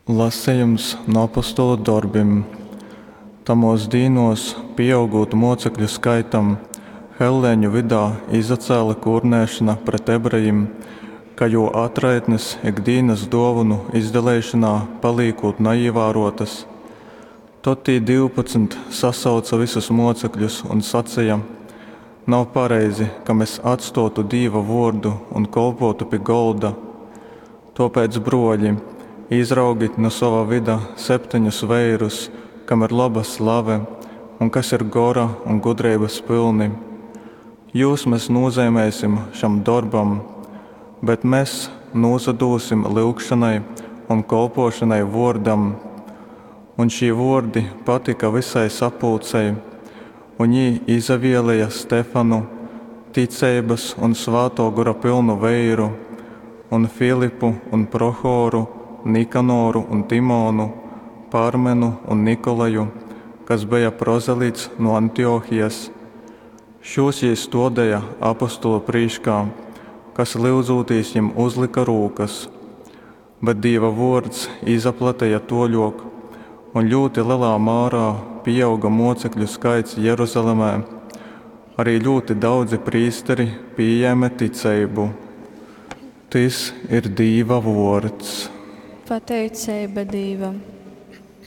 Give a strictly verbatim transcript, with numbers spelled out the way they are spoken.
Lasejums nu Apostolu dorbim. Tamōs dīnōs, pīaugūt mōcekļu skaitam, helleņu vydā izacēle kūrnēšona pret ebrejim, ka jū atraitnes ik dīnas dōvonu izdaleišonā palīkūt naīvārōtas. Tod tī divpadsmit sasauce vysus mōcekļus un saceja, Nav pareizi, ka mes atstōtu Dīva vōrdu un kolpōtu pi golda. Tōpēc, brōļi, izraugit nu sova vyda septeņus veirus, kam ir loba slave un kas ir gora un gudreibas pylni. Jūs mes nūzeimēsim šam dorbam. Bet mes nūsadūsim lyugšonai un kolpōšonai vōrdam. Un šī vōrdi patyka vysai sapulcei. Un jī izavieleja Stefanu, ticeibas un Svātō Gora pylnu veiru, un Filipu un Prochoru, Nikanoru un Timonu, Parmenu un Nikolaju, kas beja prozelits nu Antiochijas. Šūs jī stōdeja apostolu prīškā, kas lyudzūtīs jim uzlyka rūkas. Bet Dīva vōrds izaplateja tōļōk, un ļūti lelā mārā pīauga mōcekļu skaits Jeruzalemē. Ari ļūti daudzi prīsteri pījēme ticeibu. Tys ir Dīva vōrds. Pateiceiba Dīvam.